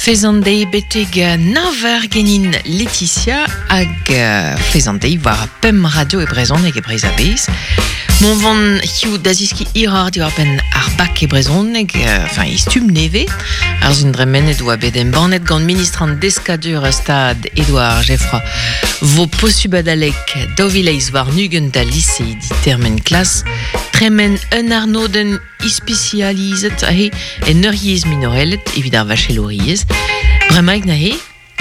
Fez an deiz betek nav eur genin Laetitia hag fez an deiz war pemp radio e brezhoneg e Breizh a-bezh. Mont van hiziv da zeskiñ hiroc'h diwar-benn ar bak e brezhoneg, enfin e stumm nevez. Ar sun dremenet oa bet embannet gant ministr an Deskadurezh Stad Edouard Geffroy vo posubl adalek 2028 da liseidi termen klas tremen un arnodenn ispisializet aze en ur yezh minorelet evit ar vachelouriezh. Bremaik neuze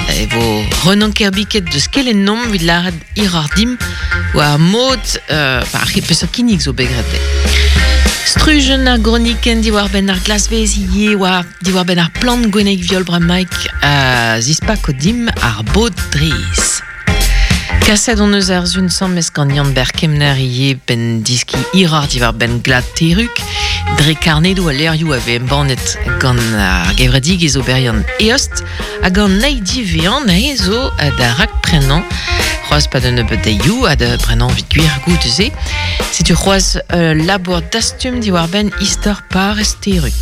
e vo Renan Kerbiket deus kelennomp evit lâret hiroc'h dimp war mod euh, ar peseurt kinnig zo bet graet. Strujenn ar gronikenn diwar-benn ar glasvez ivez war diwar-benn ar plant gwennek viol bremaik a zispako dimp ar bod drez. Kaset hon eus ar sun sammes gant Yann-Ber Kemner ivez benn diski hiroc'h diwar-benn glad Terrug dre karnedoù ha levrioù a vez embannet gant ar gevredigezh oberiant Eost hag an eil diwezhañ neuze zo da rakprenañ c'hoazh pad un nebeud deioù ha da brenañ evit gwir goude-se. Setu c'hoazh ul labour dastum diwar-benn istor parrez Terrug.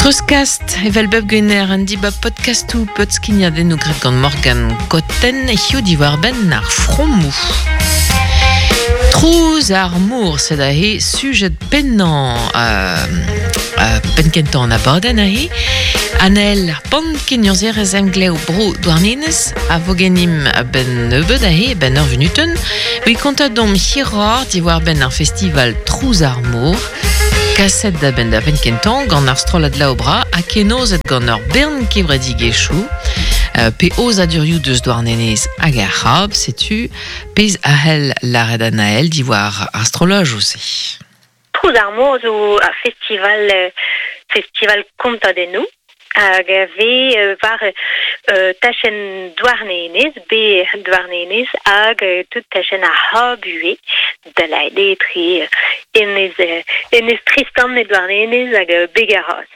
Treuzkast, evel bep gwener, un dibab podkastoù podskignadennoù graet gant Morgan Cotten, hiziv diwar-benn ar fromoù. Trouz ar mor, sed aze sujet pennañ euh, penn-kentañ an abadenn aze. Anael ar Pan kenurzhierez emglev Bro Douarnenez a vo genimp a-benn nebeut aze, a-benn ur vunutenn. Evit kontañ deomp hiroc'h diwar-benn ar festival Trouz ar mor. Kaset da benn da benn kentañ gant ar strollad Laobra ha kenozet gant ur bern kevredigezhioù euh, pe aozadurioù deus Douarnenez hag ar C'hab, setu pezh a c'hell lâret Anael diwar ar strollajoù-se. Trouz ar mor zo ar festival festival kontadennoù hag a vez war tachenn Douarnenez, be Douarnenez hag tout tachenn ar C'hab ivez, da lâret eo etre Enez, Enez Tristan e Douarnenez hag Beg ar Raz.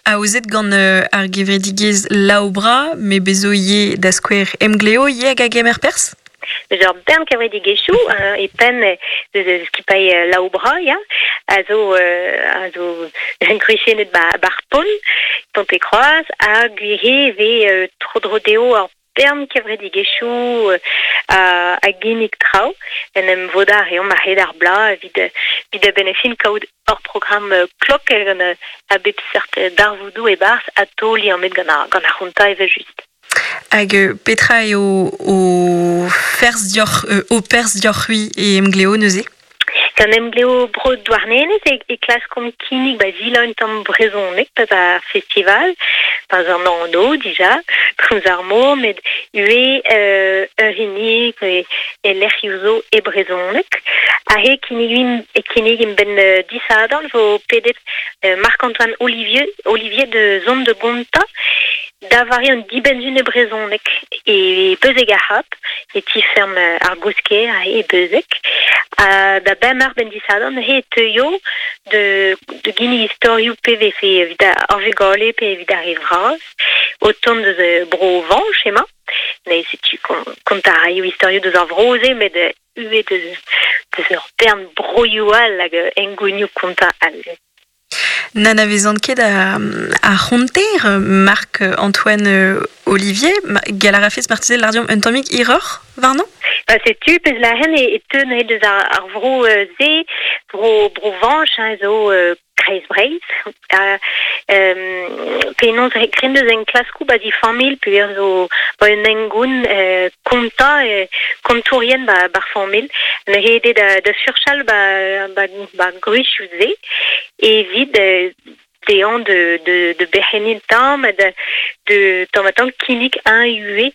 Aozet gant ar gevredigezh Laobra, met bez zo ivez da skouer Emgleo ivez hag a gemer perzh? Eus ur bern kevredigezhioù e penn eus skipailh Laobra, ya, a zo a zo gwriziennet 'ba 'r pont, Pont-e-Kroaz, ha gwir e vez tro-dro dezho ur bern kevredigezhioù a ginnig traoù. En em vodañ a reomp a-hed ar bloaz evit evit a-benn ar fin kaout ur programm klok gant a bep seurt darvoudoù e-barzh ha taol liammet gant ar gant ar c'hontañ evel-just. Hag petra eo ho ferzh deoc'h, ho perzh deoc'h-c'hwi e Emgleo neuze? Gant Emgleo Bro Douarnenez e, e klaskomp kinnig ba zilañ un tamm brezhoneg pa ar festival, pa an anv dija, trouz ar mor, met ivez ur hini e lec'hioù zo e brezhoneg. Aze kinnigimp e kinnigimp benn disadorn vo pedet Marc-Antoine Olivier, Olivier de zont de gontañ Da vare an dibenn-sizhun e brezhoneg e Beuzeg ar C'hab, e ti-feurm ar Gousker e Beuzeg. Ha da bemp eur benn disadorn neuze e teuio da da ginnig istorioù pe vefe evit ar vugale pe evit ar re vras o tont deus Bro-Vañj emañ. Neuze setu kontañ a raio istorioù deus ar vro-se met ivez deus deus ur bern broioù all hag hengounioù kontañ all. N'anavezan ket ar c'honter Marc-Antoine Olivier. Gall a rafes marteze lâr un tammig hiroc'h warnañ? Ba setu pezh lâren e teu neuze deus ar vro-se, bro Bro-Vañj, hein, zo kreiz Breizh. Ha penaos kren deus enklaskoù ba di familh peogwir zo ba un hengoun kontañ kontourien ba bar familh. Neuze eo da da furchal ba ba ba gwrizioù-se evit dezhañ de de de berc'henniñ tamm ha da de tamm-ha-tamm kinnig eñ ivez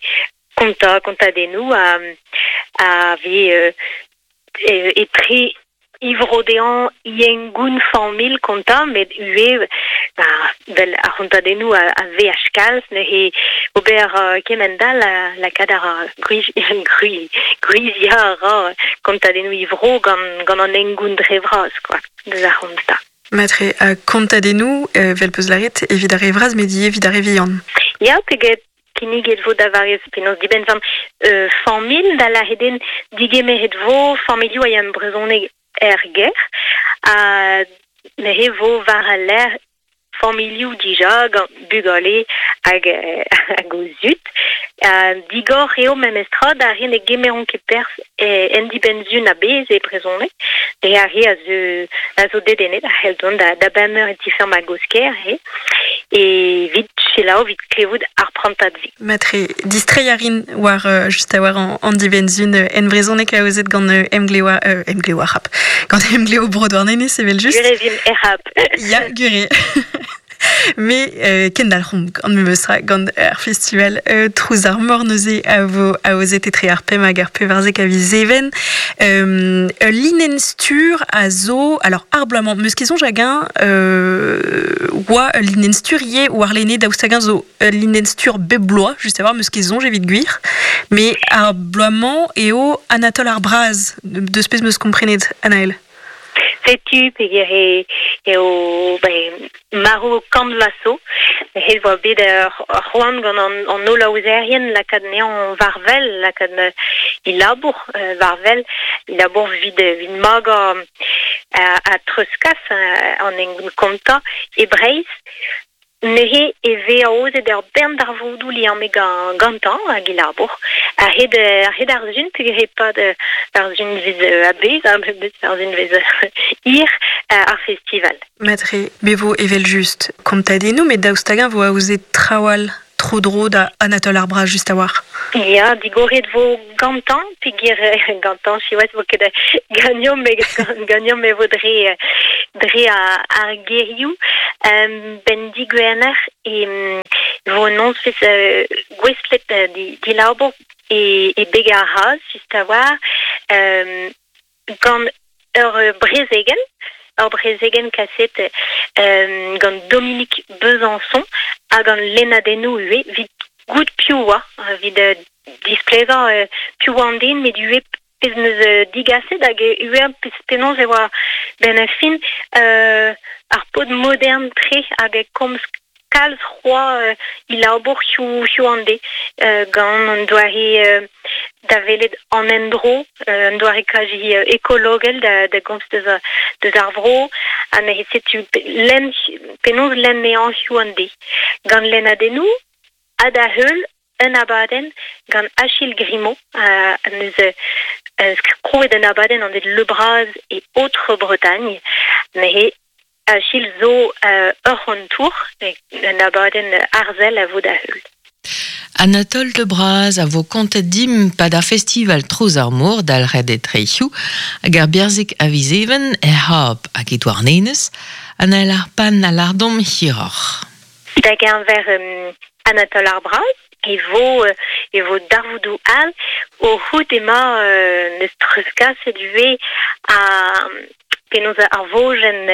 kontañ kontadennoù ha a vez etre ivro dezhañ hengoun familh kontañ met ivez ba 'vel ar c'hontadennoù a veaj kalz neuze ober kement-all lakaat a ra gwriziañ a ra kontadennoù ivro gant gant an hengoun dre vras quoi deus ar c'hontañ. Matre ha kontadennoù 'vel 'peus lâret evit ar re vras met ivez evit ar re vihan. Ya peget Kinniget vo da vare penaos dibenn familh da lâret eo digemeret vo familhoù a ya brezhoneg er gêr ha neuze vo war al lec'h familhoù dija gant bugale hag hag o zud. Digor eo memestra da re ne gemeront ket perzh en dibenn-sizhun a-bezh e brezhoneg, dre ar re a zeu a zo dedennet a c'hell dont da da bemp eur e ti-feurm a Gosker eo, evit selaou evit klevout ar prantad-se. Matre, distreiñ a rin war just a-war an dibenn-sizhun en brezhoneg aozet gant Emglev Emglev ar C'hap, gant Emglev Bro Douarnenez evel-just. Gwir e vimp er C'hap. Ya, gwir eo. Me kendalc'homp gant memes tra gant ar festival Trouz ar Mor neuze a vo aozet etre ar pemp hag ar pevarzek a viz Even. Ul linenn-stur a zo alors ar bloaz-mañ 'meus ket soñj hag-eñ oa ul linenn-stur ivez warlene daoust hag-eñ zo ul linenn-stur bep bloaz just a-walc'h 'meus ket soñj evit gwir. Mais ar bloaz-mañ eo Anatole ar Braz deus pezh 'meus komprenet Anaël. Setu peger eo ben, marv kant vloaz zo. Het oa bet ur c'hoant gant an holl aozerien lakaat anezhañ war-wel, lakaat e labour war-wel, e labour evit evit magañ ha treuzkas an hengoun kontañ e Breizh. Neuze e vez aozet ur bern darvoudoù liammet gantañ hag e labour. A-hed a-hed ar sizhun peogwir e-pad ar sizhunvezh a-bezh, ar sizhunvezh hir ar festival. Matre, me vo evel-just kontadennoù, met daoust hag-eñ vo aozet traoù all tro-dro da Anatole ar Braz just a-walc'h? Ya, digoret vo gantañ peogwir gantañ siwazh vo ket ganeomp ganeomp e vo dre dre ar gerioù. Benn digwener e vo un nozvezh gouestlet dilabour e e beg ar Raz just a-walc'h gant ur brezegenn ur brezegenn kaset gant Dominique Besançon ha gant lennadennoù ivez evit goût piv oa evit displegañ piv oa an den met ivez pezh 'neus digaset hag ivez penaos e oa benn ar fin ar paotr modern-tre hag e komz kalz c'hoazh e labour hiziv an deiz gant an doare da welet an endro, un doare kazi ekologel da gomz deus deus ar vro ha neuze setu lenn penaos lenn anezhañ hiziv an deiz gant lennadennoù ha da heul un abadenn gant Achille Grimaud neus krouet un abadenn anvet Le Braz et Autres Bretagne neuze Achille zo ur c'hontour, un abadenn arzel a vo da heul. Anatole Le Braz a vo kontet dimp 'pad ar festival Trouz ar Mor dalc'het etre hiziv hag ar Berzeg a viz Even er C'hab hag e Douarnenez. Anael ar Pann a lâr deomp hiroc'h. Da geñver Anatole ar Braz e vo e vo darvoudoù all o c'hoût emañ neus treuzkaset ivez ha penaos ar vojenn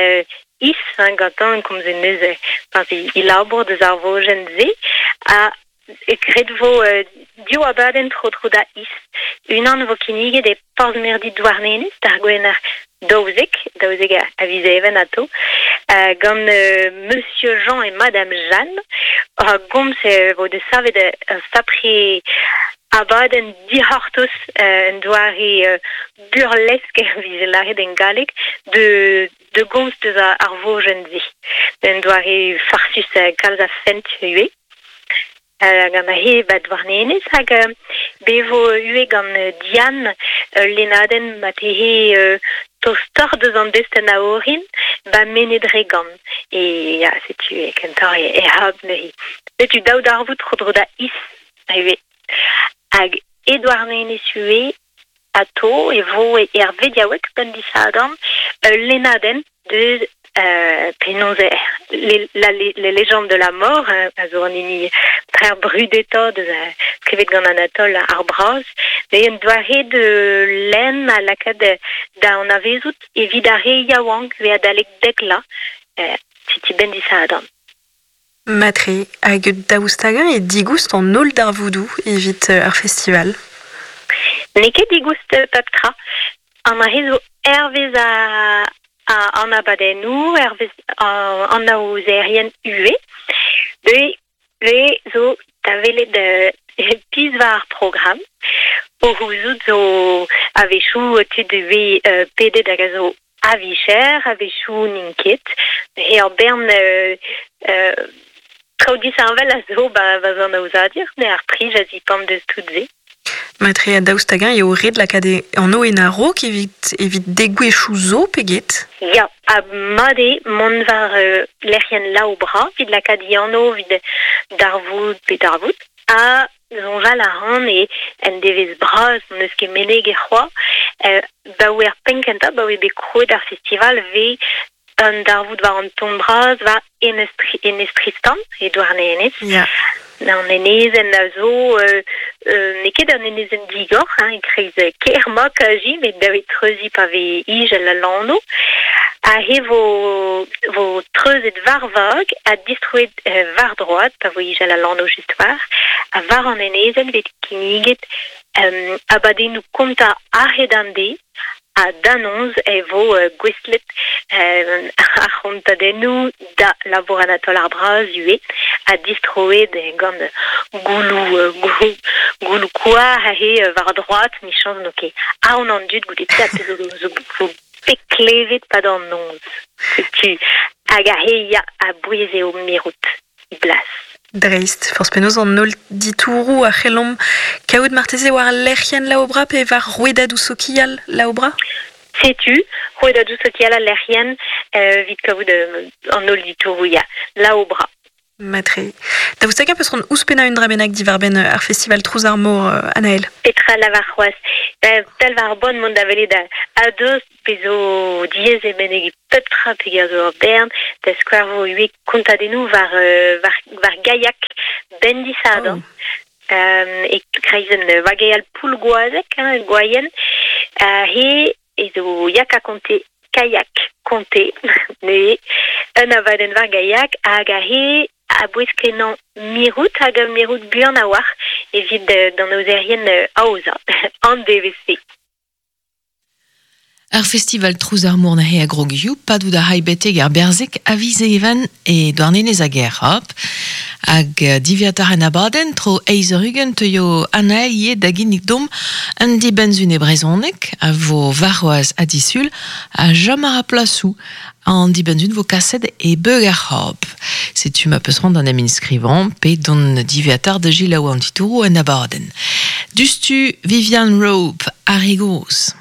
is hein, gantañ komzet neuze enfin e labour deus ar vojenn-se ha graet vo div abadenn tro-dro da Is. Unan vo kinniget e Porzh-Mirdi Douarnenez d'ar Gwener daouzek, daouzek a viz Even atao, gant Monsieur Jean et Madame Jeanne. A gomz e vo desavet ur sapre abadenn dic'hortoz un doare burlesk vije lâret en galleg de de gomz deus ar vojenn-se. Un doare farsus kalz a fent ivez. Gant he ba Douarnenez hag be vo ivez gant Diane ul lennadenn ma tehe tostoc'h deus an destenn a orin ba Menedregan. E ya, setu e kentoc'h e hab neuze. Setu daou darvoud tro-dro da Is ivez. Hag e Douarnenez ivez Atao e vo er vediaoueg benn disadorn ul lennadenn deus penaos la, les légendes de la mort a zo an hini trec'h brudetañ deus skrivet gant Anatole ar Braz. Met un doare de lenn a lakaat da anavezout evit ar re yaouank ve adalek dek vloaz setu benn disadorn. Matre, hag daoust hag-eñ eo digoust an holl darvoudoù evit ar festival? N'eo ket digoust pep tra. An aze zo hervez an abadennoù, hervez an aozerien ivez. Deuet zo da welet pizh war ar programm. O c'houzout zo a-wechoù tud 'vez pedet hag a zo A-vicher, a-wechoù n'int ket. Eo ur bern Traoù disheñvel a zo ba, ba an aozadur, ne ar prij a zipant deus tout se. Matre a daoust hag-eñ eo ret lakaat an o en a-raok evit, evit degouezhioù zo pe get? Ya, ha mat eo mont war lec'hienn Laobra evit lakaat e anv evit darvoud pe darvoud. Ha soñjal a ran e en devezh bras n'eus ket meneg e c'hoazh. Baoe ar penn kentañ, baoe bet krouet ar festival, vez un darvoud war an ton bras war Enez, Enez Tristan, e Douarnenez. Ya. An enezenn a zo n'eo ket un enezenn digor, hein, e-kreiz kêr ma kaji, met da treuziñ pa vez ijel al lanv. Ha he vo, vo treuzet war vag ha distroet war droad pa vo ijel al lanv just war. Ha war an enezenn vet kinniget abadennoù kontañ a-hed an deiz ha d'annonz e vo gouestlet ar c'hontadennoù da labour Anatole ar Braz ivez ha distroet gant gouloù gouloù koar he war droad michañs n'o ket aon an dud goude pet zo zo zo bet klevet pad an noz. Setu hag a he ya a-bouez eo mirout blas. Dreist, forzh penaos an holl ditouroù a c'hellomp kaout marteze war lec'hienn Laobra pe war rouedadoù sokial Laobra? Setu, rouedadoù sokial al lec'hienn evit kaout an holl ditouroù ya, Laobra. Matre. Daoust hag-eñ peus c'hoant ouzhpennañ un dra bennak diwar-benn ar festival Trouz ar Mor, Anaël? Petra lavar c'hoazh? Tal war bon mont da welet a-deus pe zo diaes e meneg pep tra peger zo ur bern, da skouer vo ivez kontadennoù war, war, war gaiak ben disadorn. Oh. E kreizenn vageal Poulgoazeg, hein, Gwaien, he e zo yak a konte kayak konte, neuze un abadenn war gaiak hag a he a-bouez kenañ mirout hag a mirout buan a-walc'h evit d'an aozerien aozañ an devezh-se. Ar festival Trouz ar Mor neuze a grog hiziv, padout a ray betek ar berzeg a viz Even e Douarnenez hag er C'hab. Hag diwezhatoc'h en abadenn, tro eizh eur ugent teuio Anaël ivez da ginnig domp un dibenn-sizhun e brezhoneg a vo warc'hoazh ha disul ha chom a ra plasoù. An dibenn-sizhun vo kaset e beug ar C'hab. Setu ma peus c'hoant d'en em inskrivañ pe dont diwezhatoc'h da selaou an titouroù en abadenn. Dustu Viviane Rope, ar re gozh.